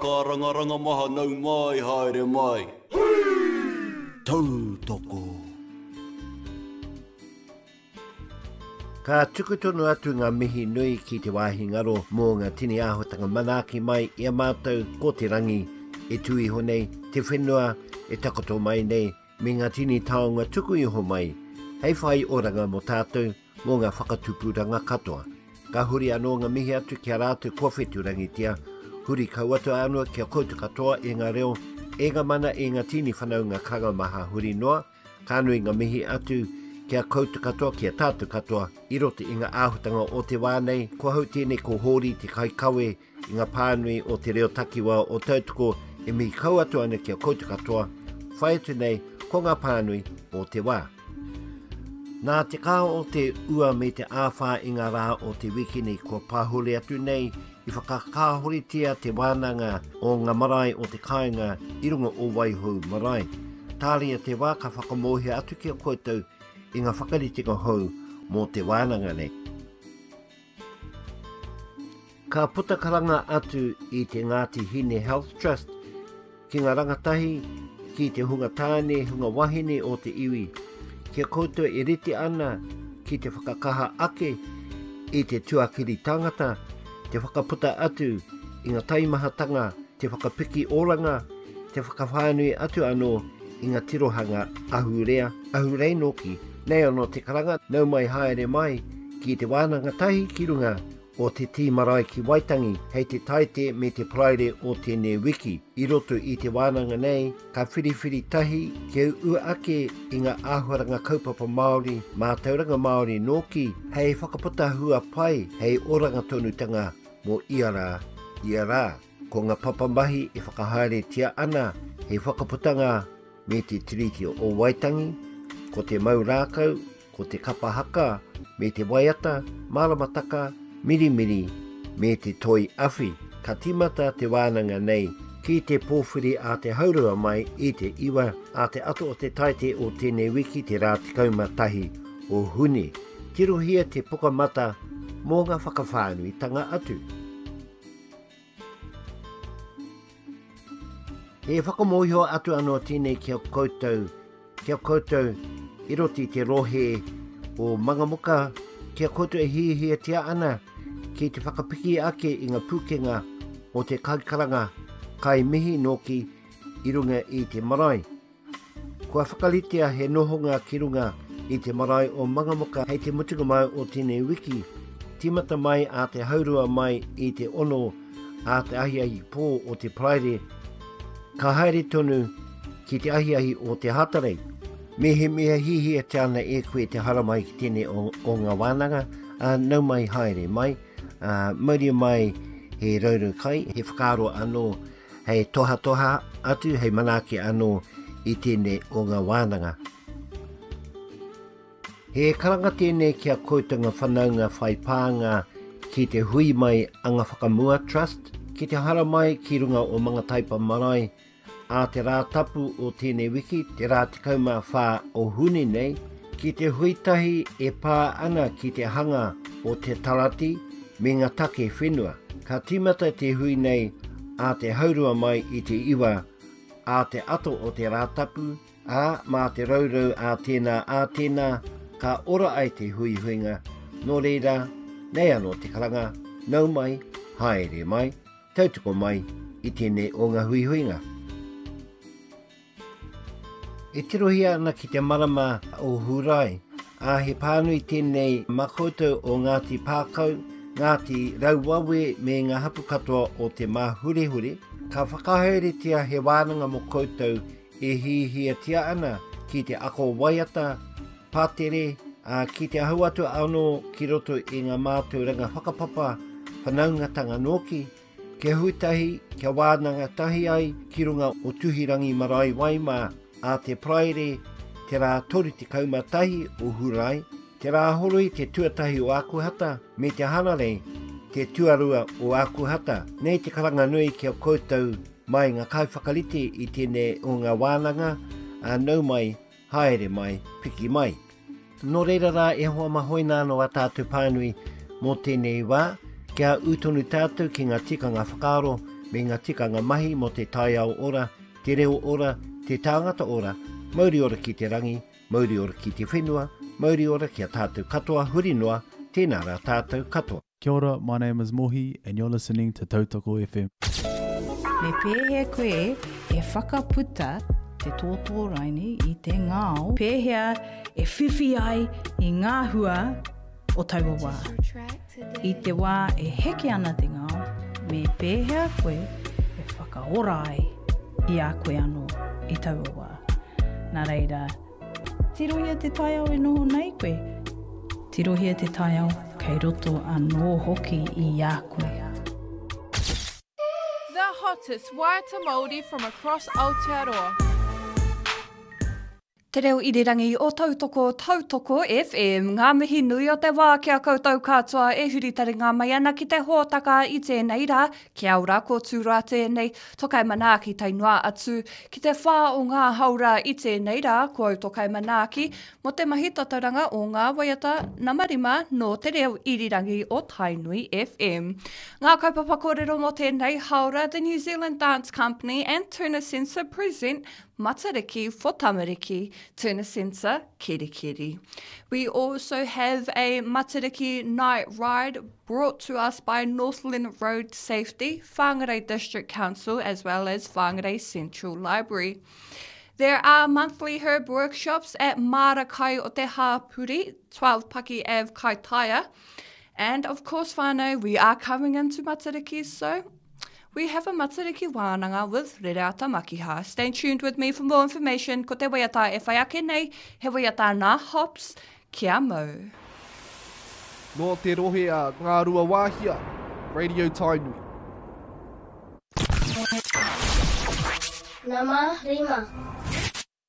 Kārangaranga maha nau mai haere mai. Tautoko. Ka tuku tonu atu ngā mihi nui ki te wāhi ngaro mō ngā tini āhuatanga manaaki mai i a mātou ko te rangi e tū iho nei, te whenua e takoto mai nei, me ngā tini taonga tuku iho mai hei whai oranga mō tātou mō ngā whakatupuranga katoa. Ka huri anō ngā mihi atu ki a rātou kua whetūrangitia, huri kau atu anō ki a koutou katoa e ngā reo, e ngā mana, e ngā tini whanaunga karanga maha huri noa, ka nui ngā mihi atu ki a koutou katoa, ki a tātou katoa i roto i ngā āhutanga o te wā nei. Ko ahau tēnei ko Hōri te kaikawe i ngā pānui o te reo takiwā o Tautoko e mihi kau atu ana ki a koutou katoa, whai atu nei ko ngā pānui o te wā. Nā te kaha o te ua me te āwhā i ngā rā o te wikini kua pahore atu nei i whakakāhoretia te wānanga o ngā marae o te kāinga i runga o Waihou Marae. Tāria te wā ka whakamōhio atu ki a koutou i ngā whakaritenga hou mō te wānanga nei. Ka puta karanga atu i te Ngāti Hine Health Trust ki ngā rangatahi, ki te hunga tāne, hunga wahine o te iwi, kia koutou e rite ana ki te whakakaha ake i te tuakiri tangata, te whakaputa atu i ngā taimahatanga, te whakapiki oranga, te whakawhānui atu anō i ngā tirohanga ahurea, ahurei nōki. Nei anō te karanga, nau mai haere mai ki te wānanga tahi ki runga o Te Tī Marae ki Waitangi hei te Taite me te Paraire o tēnei wiki. I roto i te wānanga nei, ka whiriwhiri tahi kia ua ake i ngā āhuaranga kaupapa Māori, mātauranga Māori nōki, hei whakaputa hua pai, hei oranga tonutanga mō ia rā, ia rā. Ko ngā papamahi e whakahaeretia ana hei whakaputanga me te Tiriti o Waitangi, ko te mau rākau, ko te kapa haka me te waiata, maramataka, mirimiri me te toi awhi. Ka tīmata te wānanga nei ki te pōwhiri a te haurua mai i te iwa a te ata o te Taite o tēnei wiki te rā 11 o Hune. Tirohia te pukamata mō ngā whakawhānuitanga atu. He whakamōhio atu anō tēnei ki a koutou, ki a koutou i roto i te rohe o Mangamuka, ki a koutou e hiahiatia ana ki te whakapiki ake i ngā pūkenga o te kaikaranga kai mihi nōki i runga i te marae. Kua whakaritea he nohonga ki runga i te marae o Mangamuka hei te mutunga mai o tēnei wiki. Tīmata mai a te haurua mai i te ono a te ahiahi pō o te Paraire, ka haere tonu ki te ahiahi o te Hātarei. Mehemea hihiatia ana e koe te haramai ki tēnei o, o ngā wānanga, ā, nau mai haere mai, ā, mauria mai he raurau kai, he whakaaro anō hei tohatoha atu, hei manaaki anō i tēnei o ngā wānanga. He karanga tēnei ki a koutou ngā whanaunga whai pānga ki te hui mai Anga Whakamua Trust, ki te haramai ki runga o Mangataipa Marae ā te rā tapu o tēnei wiki, te rā 14 o Hune nei, ki te hui tahi e pā ana ki te hanga o te tarati me ngā take whenua. Ka tīmata te hui nei ā te haurua mai i te iwa ā te ato o te Rātapu, ā, mā te rourou ā tēnā ā tēnā ka ora ai te huihuinga, nō reira, nei anō te karanga, nau mai, haere mai, tautoko mai i tēnei o ngā huihuinga. E tirohia ana ki te marama o Hūrae, ā, he pānui tēnei mā koutou o Ngāti Pākau, Ngāti Rauwawe me ngā hapu katoa o Te Māhurehure, ka whakahaeretia he wānanga mō koutou e hiahiatia ana ki te ako waiata, pātere, ā, ki te ahu atu anō ki roto i ngā mātauranga whakapapa, whanaungatanga nōki, Kia hui tahi, kia wānanga tahi ai ki runga o Tuhirangi Marae Waimā ā te Paraire te rā 31 o Hurae, te Rāhoroi te tuatahi o Ākuhata me te Hanarei te tuarua o Ākuhata. Nei te karanga nui ki a koutou mai ngā kaiwhakarite i tēnei o ngā wānanga, ā, nau mai, haere mai, piki mai. Nō reira rā e hoa ma hoina anō a tātou pānui mō tēnei wā, kia ū tonu tātou ki ngā tikanga whakaaro me ngā tikanga mahi mō te taiao ora, te reo ora, te tāngata ora, mauri ora ki te rangi, mauri ora ki te whenua, mauri ora ki a tātou katoa huri noa, tēnā rā tātou katoa. Kia ora, my name is Mohi and you're listening to Tautoko FM. Me pēhea koe e whakaputa te tōtō raini i te ngao? Pēhea e whiwhi ai i ngā hua o taua wā? I te wā e heke ana te ngao, me pēhea koe e whakaora ai i a koe anō i taua wā? Nā reira, Tirohia te taiao e noho nei koe. Tirohia te taiao kei roto anō hoki i a koe. The hottest waiata Māori from across Aotearoa. Te reo irirangi o Tautoko, Tautoko FM. Ngā mihi nui o te wā ki a koutou katoa e huri taringa mai ana ki te hōtaka i tēnei rā. Kia ora, ko Tūroa tēnei, Tokai manaaki tae noa atu ki te whā o ngā haora i tēnei rā, ko au Tokai manaaki mō te mahi tatauranga o ngā waiata nama rima nō te reo irirangi o Tainui FM. Ngā kaupapa kōrero mō tēnei haora, The New Zealand Dance Company and Turner Sensor present Matariki for Tamariki, Turner Sensor Kerikeri. We also have a Matariki night ride brought to us by Northland Road Safety, Whangarei District Council, as well as Whangarei Central Library. There are monthly herb workshops at Mara Kai o Te Hāpuri, 12 Paki Ave, Kaitaia. And of course, whānau, we are coming into Matariki, so we have a Matariki wānanga with Rereata Makiha. Stay tuned with me for more information. Ko te waiata e whai ake nei, he waiata nā Hops, kia mau. Nō te rohe a Ngāruawāhia, Radio Tainui. Nama rima.